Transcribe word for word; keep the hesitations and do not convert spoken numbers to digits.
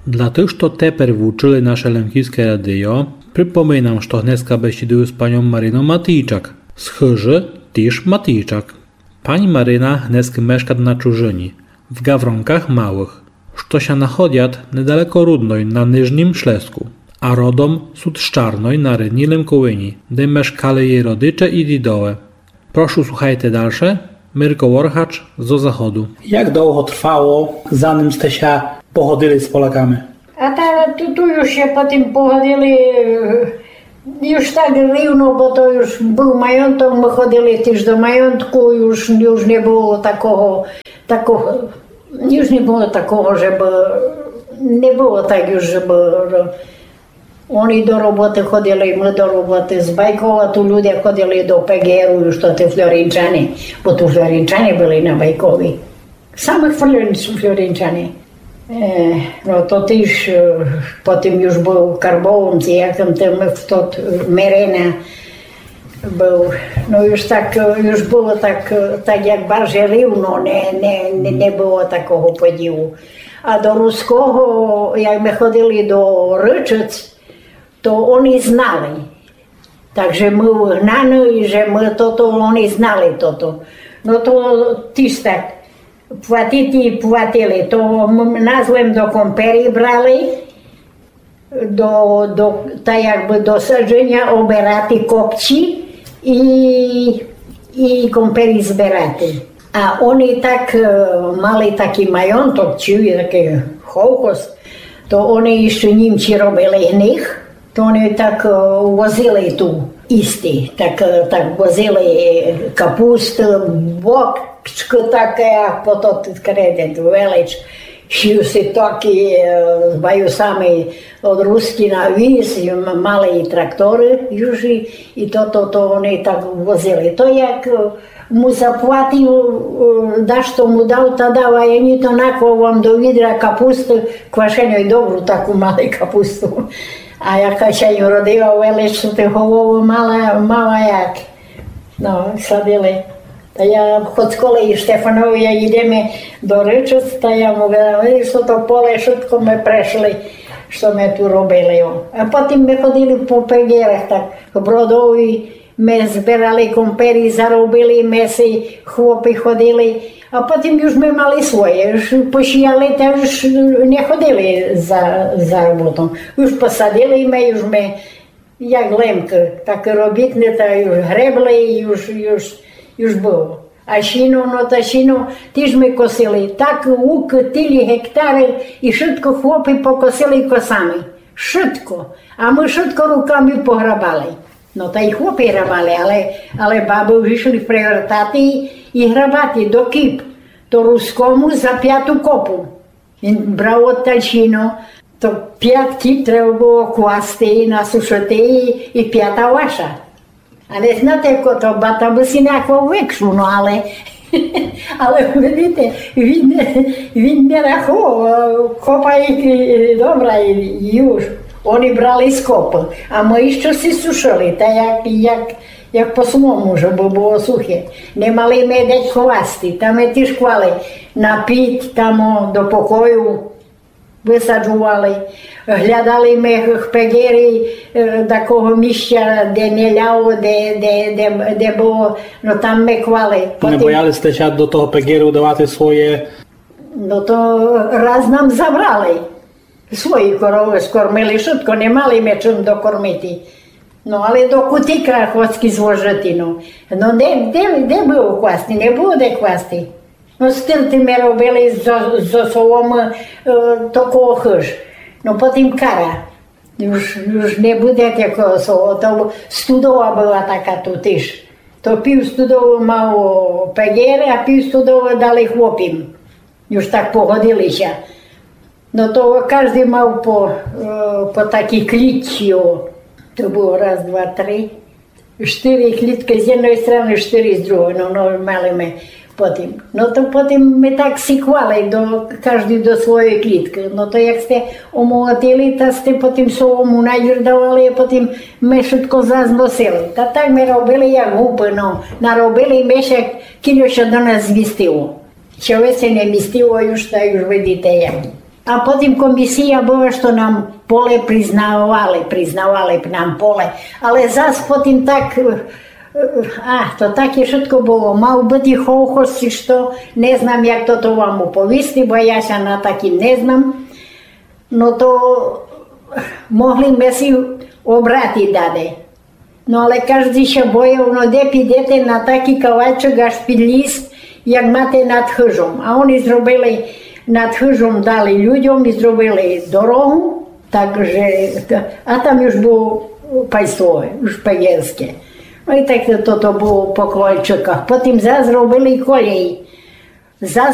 Для тых, што тепер вучыли наше Лемківске радийо, припоминам, што гнеска бесідую з паньом Марином Матійчак, з хыжы тіж Матійчак. Пані Марина гнескы мешкат на чужыні, в Гавронках Малых, што ся находят недалеко Рудной на Нижнім Шлеску, а родом сут з Чарной на Рідній Лемковині, де мешкали єй родиче і дідове. Прошу, слухайте дальше. Мирко Воргач зо Заходу. Як довго тривало, заним сте ся погодили з Поляками? А та ту, ту юж ся потім погодили, е, юж так рівно, бо то юж быв майонток, мы ходили тіж до майонтку, юж, юж не было такого, такого, юж не было такого, же бы, не было так юж, же бы, е, они до роботы ходили, мы до роботы. З Байкова ту люде ходили до Пеґеру, юж то ті Флоринчани, бо ту Флоринчани были на Байкові. Самы Флорин-, Флоринчани. Е, но то тіж, е, потім юж быв Карбовом, ци якым там тот, е, Мерена быв. Но юж так, е, юж было так, е, так як барже рівно, не, не, не, не было такого поділу. А до Руского, як мы ходили до Рычыц, то они знали. Так же мы выгнаны, і же мы тото, они знали тото. Но то тіж так платити платили. То м-, нас лем до Компері брали, до, до, та якбы до саджыня оберати копці і, і Компері зберати. А они так, е, мали такій майонток, ци такій ховхоз, то они іщы німці робили в них, то они так, е, возили ту їсти, так, е, так возили, е, капусты, бокчкы таке, а пото кредит велич, сів си такій, е, з баюсами од Рускі на віз, і м-, мали і тракторы, юж і, і то, то, то они так возили. То як, е, му заплатив, е, дашто му дав, та дав, а єден то наклав вам до відра капусты квашеньой, добру таку мали капусту. А як ся й родила велич, што ти голову мала, мала як. Но, садили. Та я хоц коли і Штефанові, як ідеме до Рычыц, та я му говорю: «Видиш, то поле, швидко мы прешли, што мы ту робили». О. А потім мы ходили по Пеґерах, так, Бродові, мы зберали Компері, заробили мы си, хлопи ходили. А потім юж мы мали своє, юж посіяли, та юж не ходили за, за роботом. Юж посадили мы, юж мы як Лемкы, так робітны, та юж гребли, юж, юж, юж было. А сіно, но та сіно тіж мы косили. Так лук, тілі гектары, і швидко хлопи покосили косами. Швидко. А мы швидко руками пограбали. Но та й хлопи грабали, але, але бабы уж ішли привертати і грабати до кіп. То Рускому за пяту копу. Він брав одталь сіно, то пять кіп треба было класти, насушити і, і пята ваша. А не знате, як то, ба та бы си наклав векшу, но але, але видите, він, він не рахував, копа і, і добра, і, і юж. Они брали з копы, а мы іщы си сушили, та як, як, як по свому, жебы было сухе. Не мали мы де класти, та мы тіж клали на піт, там, о, до покою. Высаджували, глядали мы в Пеґері, е, такого місця, де не ляло, де, де, де, де было, но там мы клали. Не бояли сте ся до того Пеґеру давати своє? Но то раз нам забрали. Свої коровы скормили, швидко, не мали мы чим докормити. Но, але до кутика хоцкі зложити, но. Но де, де, де было класти? Не было де класти. Но, з тым, тым мы робили зо, зо соломы, е, такого хыж. Но, потім кара. Юж, юж не буде такого соло-, то студова была така ту тіж. То пів студовы мав Пеґер, а пів студовы дали хлопім. Юж так погодили ся. Но то каждый мав по, е, по такій клітці, о. То было раз, два, три, штыри кліткы з єдной страны, штыри з другой, но, но, мали мы потім. Но то потім мы так сіклали до, каждый до своєй кліткы. Но то як сте омолотили, та сте потім солому надірдавали, а потім мы швидко зас носили. Та так мы робили, як гупы, но. Наробили мы ся, кілько ся до нас змістило. Чого ся не містило, юж, та юж видите, як. А потім комісія была, што нам поле признавали, признавали б нам поле. Але зас потім так, е, е, а, то таке вшытко было. Мав быти ховхоз, ци што, не знам, як тото вам уповісти, бо я ся на такім не знам. Но то могли сьме си обрати даде. Но але каждый ся бояв, но де підете на такій кавалчик аж під ліс, як мате над хыжом. А они зробили над хыжом, дали людям і зробили дорогу, так же, а там уж было панствове, уж паньовске. Но і так то, то было по кавалчиках. Потім зас зробили колеї. Зас